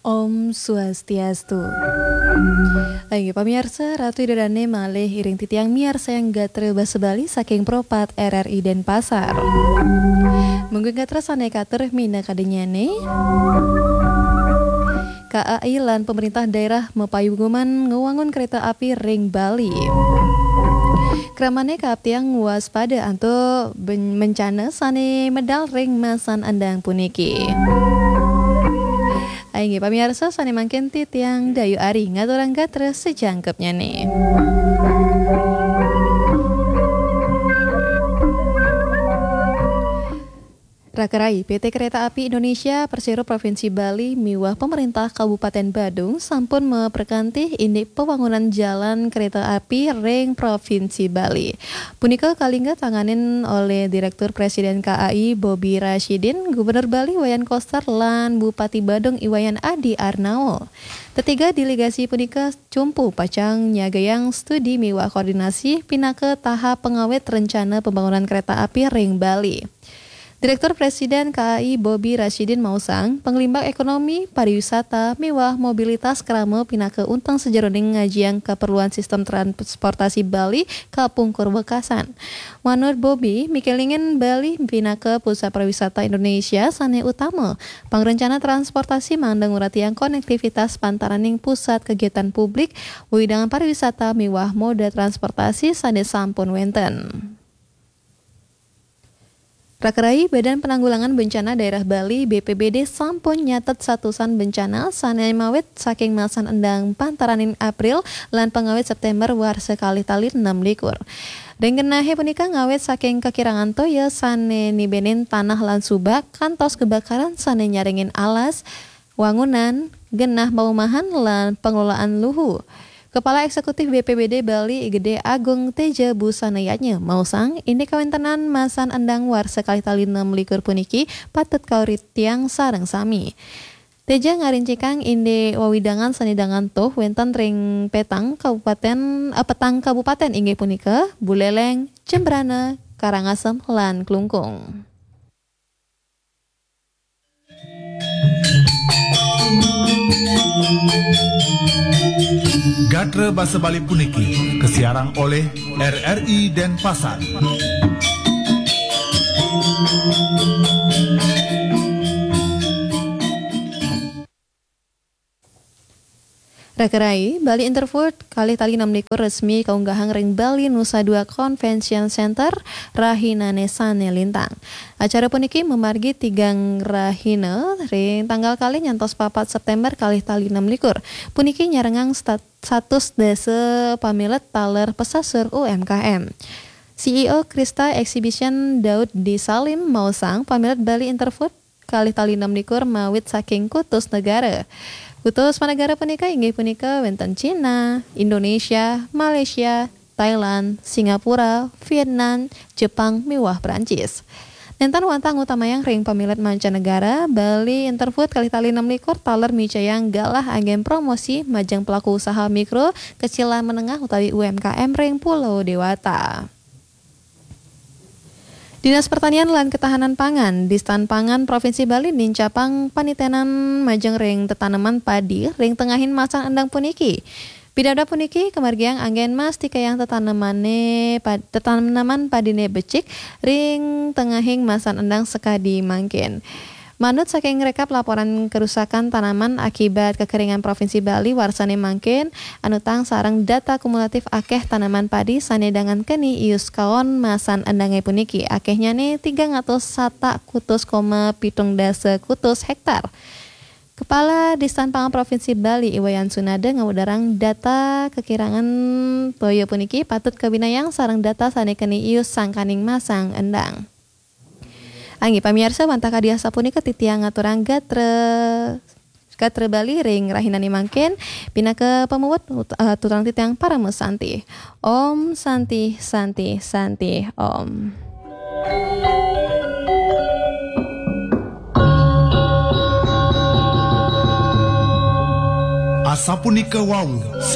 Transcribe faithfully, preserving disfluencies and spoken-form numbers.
Om Swastiastu. Inggih pamiarsa, Ratu Ida Dane malih iring titiang miarsayang gatra basa Bali saking Pro pat R R I Denpasar. Mungguing gatra sane katur minakadanyane, K A I lan pemerintah daerah mapayuguman ngwangun kereta api ring Bali. Kramane kaaptiang waspada antuk ben-, bencana sane medal ring masan endang puniki. Inggih pamiarsa, sane mangkin titiang Dayu Ari ngaturang gatra sajangkepnyane. Rakarai, P T Kereta Api Indonesia, Persero Provinsi Bali miwah pemerintah Kabupaten Badung sampun maprekanti indik pawangunan jalan kereta api ring Provinsi Bali. Punika kalingga tanganin olih Direktur Presiden K A I Bobi Rasyidin, Gubernur Bali Wayan Koster, lan Bupati Badung I Wayan Adi Arnaul. Tetiga delegasi punika cumpu pacang nyagayang studi miwah koordinasi pinaka tahap pangawit rencana pembangunan kereta api ring Bali. Direktur Presiden K A I Bobi Rasyidin maosang, panglimbak ekonomi, pariwisata, miwah mobilitas krama pinaka unteng sajeroning ngajiang kaperluan sistem transportasi Bali kapungkur wekasan. Manut Bobi, mikelingin Bali pinaka pusat pariwisata Indonesia sane utama, pangrencana transportasi mangda nguratiang konektivitas pantaraning pusat kegiatan publik, wewidangan pariwisata miwah moda transportasi sane sampun wenten. Rakarai, Badan Penanggulangan Bencana Daerah Bali, B P B D, sampun nyatet satusan bencana sane mawit saking masan endang pantaraning April lan pangawit September warsa kalih tali enam likur. Ring genahe punika ngawit saking kakirangan toya sane nibenin tanah lan subak kantos kebakaran sane nyaringin alas, wangunan, genah paumahan, lan pengelolaan luhu. Kepala Eksekutif B P B D Bali I Gede Agung Teja Busana Yatnya maosang, indik kawentenan masan endang warsa kalih tali enam likur puniki patut kauratiang sareng sami. Teja ngarincikang indik wewidangan sane dangan tuh wenten ring petang kabupaten, eh, petang kabupaten inggih punika Buleleng, Jembrana, Karangasem, lan Klungkung. Gatra basa Bali puniki kasiarang olih R R I Denpasar. Rakarai, Bali Interfood kalih tali enam likur resmi kaunggahang ring Bali Nusa Dua Convention Center rahinane sane lintang. Acara puniki mamargi tigang rahina ring tanggal kalih nyantos papat September kalih tali enam likur. Puniki nyarengang stat-, satus dasa pamilet taler pesasur U M K M. C E O Krista Exhibition Daud D Salim maosang pamilet Bali Interfood kalih tali enam likur mawit saking kutus negara. Kutus panegara punika inggih punika wenten Cina, Indonesia, Malaysia, Thailand, Singapura, Vietnam, Jepang, miwah Prancis. Nenten wantah ngutamayang ring pamilet mancanegara, Bali Interfood kalih tali enam likur taler micayang galah anggen promosi majeng pelaku usaha mikro, kecil lan menengah utawi U M K M ring Pulau Dewata. Dinas Pertanian lan Ketahanan Pangan, Distan Pangan Provinsi Bali nincapang panitenan majeng ring tetaneman padi ring tengahing masan endang puniki. Pidabdab puniki kamargiang anggen mastikayang tetanemane pad-, tetaneman padine becik ring tengahing masan endang sakadi mangkin. Manut saking rekap laporan kerusakan tanaman akibat kekeringan Provinsi Bali warsane mangkin, anutang sareng data kumulatif akeh tanaman padi sane dangan keni ius kaon masan endange puniki, akehnyane tigang atus satak kutus koma pitung dasa kutus hektar. Kepala Distan Pangan Provinsi Bali, I Wayan Sunada, ngawedarang data kekirangan toya puniki patut kabinayang sareng data sane keni ius sangkaning masan endang. Inggih pamiarsa, wantah kadi asapunika titiang ngaturang gatra, gatra Bali ring rahinane mangkin, pinaka pamuput ut-, eh, tuturang titiang parama santi. Om Santi, Santi, Santi, Om. Asapunika wau